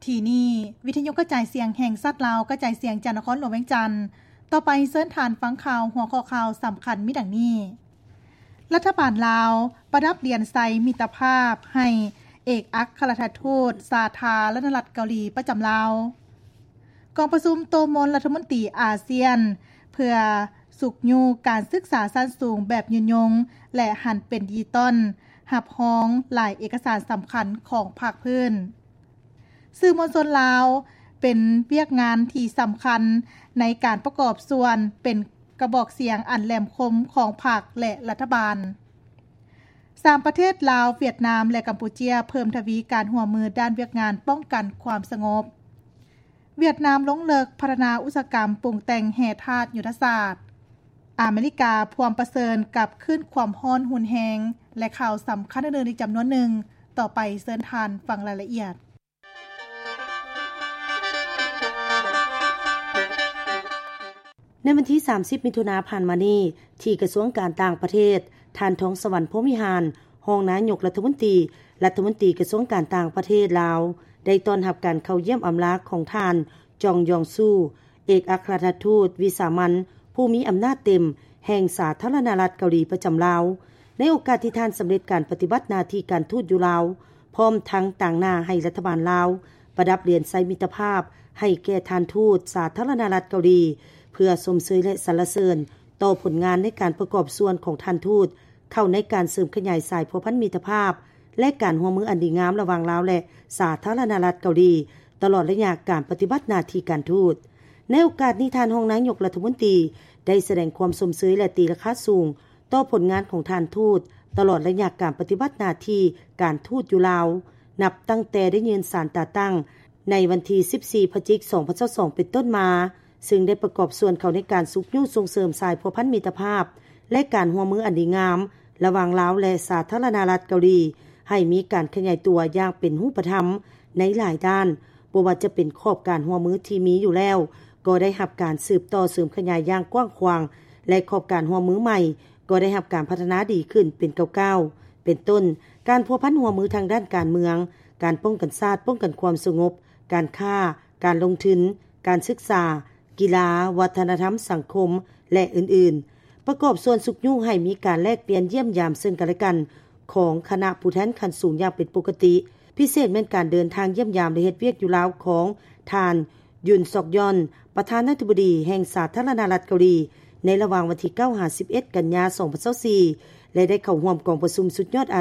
ທີ່ນີ້ ວິທະຍຸກະຈາຍສຽງແຫ່ງຊາດລາວ ກະຈາຍສຽງຈາກນະຄອນຫຼວງວຽງຈັນ. ຕໍ່ໄປເຊີນທ່ານຟັງຂ່າວ ຫົວຂໍ້ຂ່າວສຳຄັນມີດັ່ງນີ້: ລັດຖະບານລາວປະດັບຫຼຽນໄຊມິດຕະພາບໃຫ້ເອກອັກຄະລັດຖະທູດສາທາລະນະລັດເກົາຫຼີປະຈຳລາວ. ກອງປະຊຸມໂຕະມົນລັດຖະມົນຕີອາຊຽນ ເພື່ອຊຸກຍູ້ການສຶກສາຊັ້ນສູງແບບຍືນຍົງ ແລະ ຫັນເປັນດິຈິຕອນ ຮັບຮອງຫຼາຍເອກະສານສຳຄັນຂອງພາກພື້ນ. ສື່ມວນຊົນລາວເປັນວຽກງານທີ່ສຳຄັນໃນການປະກອບສ່ວນເປັນກະບອກສຽງອັນແຫຼມຄົມຂອງພັກ ແລະ ລັດຖະບານ. ສາມປະເທດລາວ, ຫວຽດນາມ ແລະ ກຳປູເຈຍ ເພີ່ມທະວີການຮ່ວມມືດ້ານວຽກງານປ້ອງກັນຄວາມສະຫງົບ. ຫວຽດນາມລົງເລິກພັດທະນາອຸດສາຫະກຳປຸງແຕ່ງແຮ່ທາດຍຸດທະສາດ. ອາເມລິກາພວມປະເຊີນກັບຄື້ນຄວາມຮ້ອນຮຸນແຮງ ແລະ ຂ່າວສຳຄັນອື່ນໆອີກຈຳນວນໜຶ່ງ. ຕໍ່ໄປເຊີນທ່ານຟັງລາຍລະອຽດ. ໃນວັນທີສາມສິບ ມິຖຸນາຜ່ານມານີ້ ທີ່ກະຊວງການຕ່າງປະເທດ, ທ່ານ ທອງສະຫວັນ ພົມວິຫານ ຮອງນາຍົກລັດຖະມົນຕີ, ລັດຖະມົນຕີກະຊວງການຕ່າງປະເທດລາວ ໄດ້ຕ້ອນຮັບການເຂົ້າຢ້ຽມອຳລາຂອງທ່ານ ຈອງຢອງຊູ ເອກອັກຄະລັດຖະທູດວິສາມັນຜູ້ມີອຳນາດເຕັມແຫ່ງສາທາລະນະລັດເກົາຫຼີປະຈຳລາວ. ໃນໂອກາດທີ່ທ່ານສຳເລັດການປະຕິບັດໜ້າທີ່ການທູດຢູ່ລາວ, ພ້ອມທັງຕາງໜ້າໃຫ້ລັດຖະບານລາວປະດັບຫຼຽນໄຊມິດຕະພາບໃຫ້ແກ່ທ່ານທູດສາທາລະນະລັດເກົາຫຼີ ເພື່ອຊົມເຊີຍ ແລະ ສັນລະເສີນຕໍ່ຜົນງານໃນການປະກອບສ່ວນຂອງທ່ານທູດ ເຂົ້າໃນການເສີມຂະຫຍາຍສາຍພົວພັນມິດຕະພາບ ແລະ ການຮ່ວມມືອັນດີງາມລະຫວ່າງລາວ ແລະ ສາທາລະນະລັດເກົາຫຼີ ຕະຫຼອດໄລຍະການປະຕິບັດໜ້າທີ່ການທູດ. ໃນໂອກາດນີ້, ທ່ານຮອງນາຍົກລັດຖະມົນຕີ ໄດ້ສະແດງຄວາມຊົມເຊີຍ ແລະ ຕີລາຄາສູງຕໍ່ຜົນງານຂອງທ່ານທູດ ຕະຫຼອດໄລຍະການປະຕິບັດໜ້າທີ່ການທູດຢູ່ລາວ, ນັບຕັ້ງແຕ່ໄດ້ຍື່ນສານຕາຕັ້ງໃນວັນທີສິບສີ່ ພະຈິກ ສອງພັນຊາວສອງ ເປັນຕົ້ນມາ, ເຊິ່ງໄດ້ປະກອບສ່ວນເຂົ້າໃນການຊຸກຍູ້ສົ່ງເສີມສາຍພົວພັນມິດຕະພາບ ແລະ ການຮ່ວມມືອັນດີງາມລະຫວ່າງລາວ ແລະ ສາທາລະນະລັດເກົາຫຼີ ໃຫ້ມີການຂະຫຍາຍຕົວຢ່າງເປັນຮູບປະທຳໃນຫຼາຍດ້ານ, ບໍ່ວ່າຈະເປັນຂອບການຮ່ວມມືທີ່ມີຢູ່ແລ້ວ ກໍໄດ້ຮັບການສືບຕໍ່ເສີມຂະຫຍາຍຢ່າງກວ້າງຂວາງ ແລະ ຂອບການຮ່ວມມືໃໝ່ກໍໄດ້ຮັບການພັດທະນາດີຂຶ້ນເປັນກ້າວໆ ເປັນຕົ້ນ ການພົວພັນຮ່ວມມືທາງດ້ານການເມືອງ, ການປ້ອງກັນຊາດ, ປ້ອງກັນຄວາມສະຫງົບ, ການຄ້າ, ການລົງທຶນ, ການສຶກສາ, ກິລາ, ວັດທະນະທຳ, ສັງຄົມ ແລະ ອື່ນໆ. ປະກອບສ່ວນຊຸກຍູ້ໃຫ້ມີການແລກປ່ຽນຢ້ຽມຢາມເຊິ່ງກັນ ແລະ ກັນຂອງຄະນະຜູ້ແທນຂັ້ນສູງຢ່າງເປັນປົກກະຕິ, ພິເສດແມ່ນການເດີນທາງຢ້ຽມຢາມ ແລະ ເຮັດວຽກຢູ່ລາວຂອງທ່ານ ຢຸນ ຊອກຢອນ ປະທານາທິບໍດີແຫ່ງສາທາລະນະລັດເກົາຫຼີ ໃນລະຫວ່າງວັນທີເກົ້າ ຫາ ສິບເອັດ ກັນຍາ ສອງພັນຊາວສີ່ ແລະ ໄດ້ເຂົ້າຮ່ວມກອງປະຊຸມສຸດຍອດອາ